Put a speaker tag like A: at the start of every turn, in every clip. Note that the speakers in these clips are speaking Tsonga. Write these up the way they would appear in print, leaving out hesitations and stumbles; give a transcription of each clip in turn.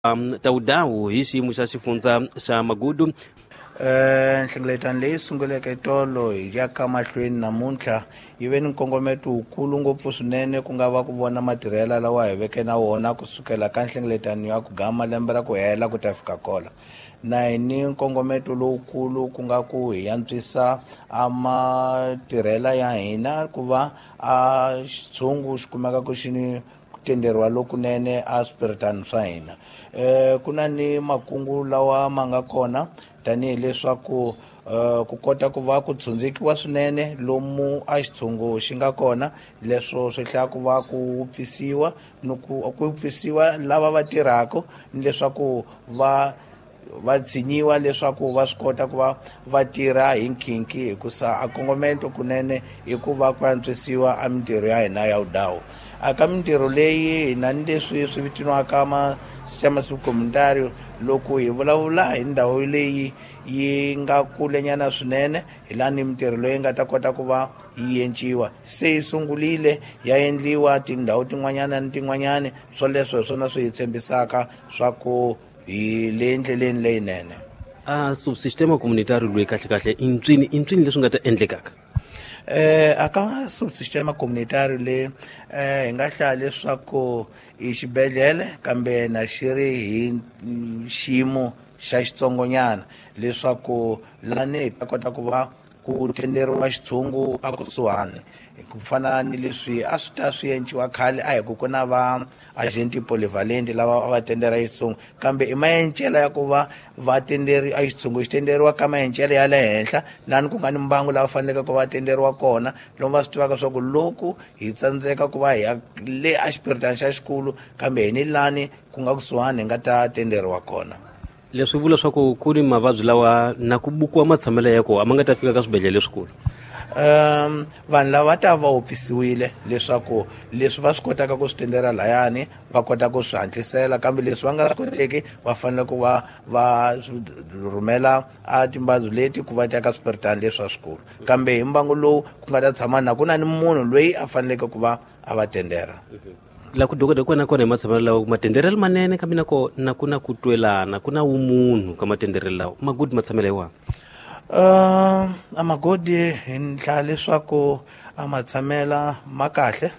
A: Tawudawu hi xiyimo xa xifundza xa Magudu.
B: Nhlengeletano leyi sunguleke tolo hi ya ka mahlweni namuntlha yi ve ni nkongometo wukulu ngopfu swinene, ku nga va ku vona matirhela lawa hi veke na wona kusukela ka nhlengeletano ya ku gama lembe ra ku hela ku ta fika kola. Na hi ni nkongometo lowukulu ku nga ku hi antswisa a matirhela ya hina ku va a xitshungu xi kumeka ku xi ni ku tenderiwa lokunene a swipiritani swa hina. Ku na ni makungu lawa ma nga kona tanihileswaku ku kota ku va ku tshundzikiwa swinene lomu a xitshungu xi nga kona, leswo swi hlaya ku va ku pfisiwa ni ku pfisiwa lava va tirhaka ni leswaku va tshinyiwa leswaku va swi kota ku va va tirha hi nkhinkhi, hikusa a kongomento kunene i ku va ku antswisiwa a mintirho ya hina ya vudawu. A ka mintirho leyi hi na ni leswi swi vitaniwaka ma-sistema subcomunitario. Loko hi vulavula hi ndhawu leyi yi nga kulenyana swinene, hi laha ni mintirho leyi nga ta kota ku va yi enciwa, se yi sungurile ya endliwa tindhawu tin'wanyana ni tin'wanyana. Swoleswo hi swona swi hi tshembisaka swa ku hi le ndleleni leyinene.
A: A subsistema comunitario loyi kahle kahle i ntswini, i ntswini leswi nga ta endlekaka?
B: A ka subsistema comunitario le, hi nga hlaya leswaku i xibedhlele, kambe na xi ri hi xiyimo xa xitsongonyana, leswaku lani hi ta kota ku va ku tenderiwa xitshungu a kusuhani, ku fana ni leswi a swi ta swi enciwa khale. A hi ku ku na va agenti polyvalent lava a va tendera xitshungu, kambe i maencela ya ku va va tenderi a xitshungu xi tenderiwa ka maencela ya le henhla, lani ku nga ni mbangu lava faneleke ku va tenderiwa kona, lomu va swi tivaka swa ku loko hi tsandzeka ku va hi ya le a xipiritani xa xikulu, kambe hi ni lani ku nga kusuhani hi nga ta tenderiwa kona.
A: Leswi vula swa ku ku ni mavabyi lawa na ku bukiwa matshamelo ya kona a ma nga ta fika ka swibedhlele leswikulu.
B: Vanhu lava ta va wupfisiwile leswaku leswi va swi kotaka ku swi tendera layani va kota ku swi hatlisela, kambe leswi va nga swi koteki va fanele ku va va rhumela a timbabyi leti ku va ta ka swipiritani leswi swa swikulu, kambe hi mbangu lowu ku nga ta tshama na ku na ni munhu loyi a faneleke ku va a va tendera.
A: La ku dokodela kona kona hi matshamelo lawa matenderelo manene, kambe na kona ku na ku twelana, ku na vumunhu ka matenderelo lawa magudi matshamelo hi wona.
B: A magodi hi ndla leswaku a matshamela ma kahle.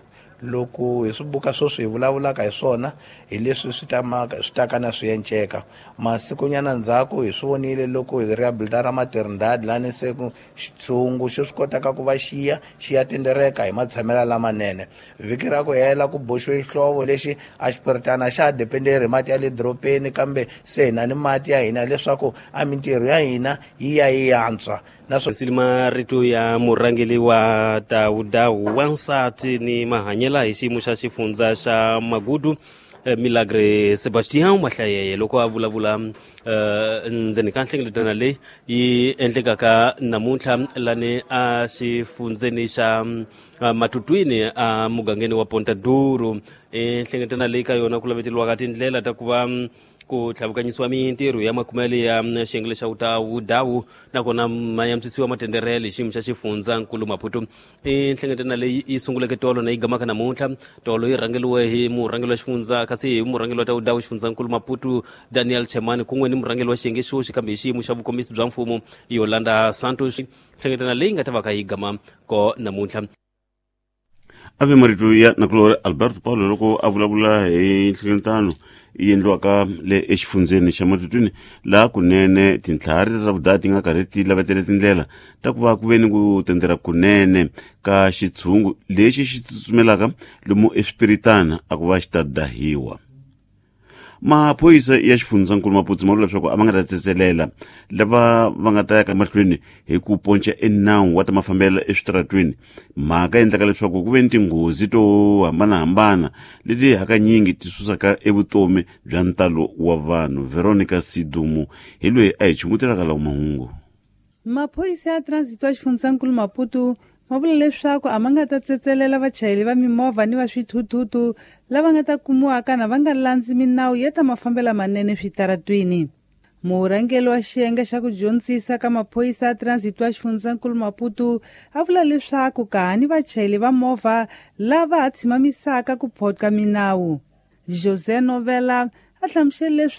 B: Loko hi swi buka sweswi hi vulavulaka hi swona, hi leswi swi ta swi ta ka na swi enceka masikunyana ndzhaku. Hi swi vonile loko hi rehabilitara Maternidade, lani se ku xitshungu xi swi kotaka ku va xiya xi ya tendereka hi matshamelo lamanene. Vhiki ra ku hela ku boxiwe xihlovo lexi a xipiritana xa ha dependeri hi mati ya le dorobeni, kambe se hi na ni mati ya hina, leswaku a mintirho ya hina yi ya yi antswa.
A: Naswona marito ya murhangeri wa Tawudawu wansati ni mahanyela hi xiyimo xa xifundza xa Magudu, Milagre Sebastian Mahlayeye, loko a vulavula ndzeni ka nhlengeletano leyi yi endlekaka namuntlha lani a xifundzeni xa Matutwini a mugangeni wa Ponta Duro. I nhlengeletano leyi ka yona ku laveteriwaka tindlela ta ku va ku tlhavukanyisiwa mintirho ya makumele ya xiyenge lexa Wutawu nakona ma yantswisiwa matenderele hi xiyimo xa xifundza nkulu Maputo. I nhlengeletano leyi yi sunguleke tolo na yi gamaka namuntlha. Tolo yi rhangeriwe hi murhangeri wa xifundza, kasi hi murhangeri wa Tawudawu xifundzankulu Maputo Daniel Chemani, kun'we ni murhangeri wa xiyenge xoxi kambe hi xiyimo xa vukomisi bya mfumo Yolanda Santos. Nhlengeletano leyi nga ta va ka yi gama ko namuntlha.
C: A ve marito ya nakulori Alberto Paulo loko a vulavula hi nhlengeletano yi endliwaka le exifundzeni xa Matutwini, laha kunene tintlhari ta vudaya ti nga karhi ti lavetele tindlela ta ku va ku ve ni ku tendera kunene ka xitshungu lexi xi tsutsumelaka lomu eswipiritana a ku va xi ta dahiwa. Maphorisa ya xifundzankulu Maputsu ma vula leswaku a va nga ta tsetselela lava va nga ta ya ka mahlweni hi ku ponca enawu wa ta mafambelo eswitaratweni, mhaka endlaka leswaku ku ve ni tinghozi to hambanahambana leti hakanyingi ti susaka evutomi bya ntalo wa vanhu. Veronica Sidumu hi loyi a hi chumutelaka lawo mahungu.
D: Maphorisa ya transit wa xifundzankulu Maputo ma vula leswaku a ma nga ta tsetselela vachayeri va mimovha ni va swithuthuthu lava nga ta kumiwaka na va nga landzi minawu ya ta mafambelo manene switaratwini. Murhangeri wa xiyenge xa ku dyondzisa ka maphorisa ya transit wa xifundzankulu Maputo a vula leswaku ka ha ni vachayeri va movha lava ha tshimamisaka ku photka minawu. José Novela A hlamusele.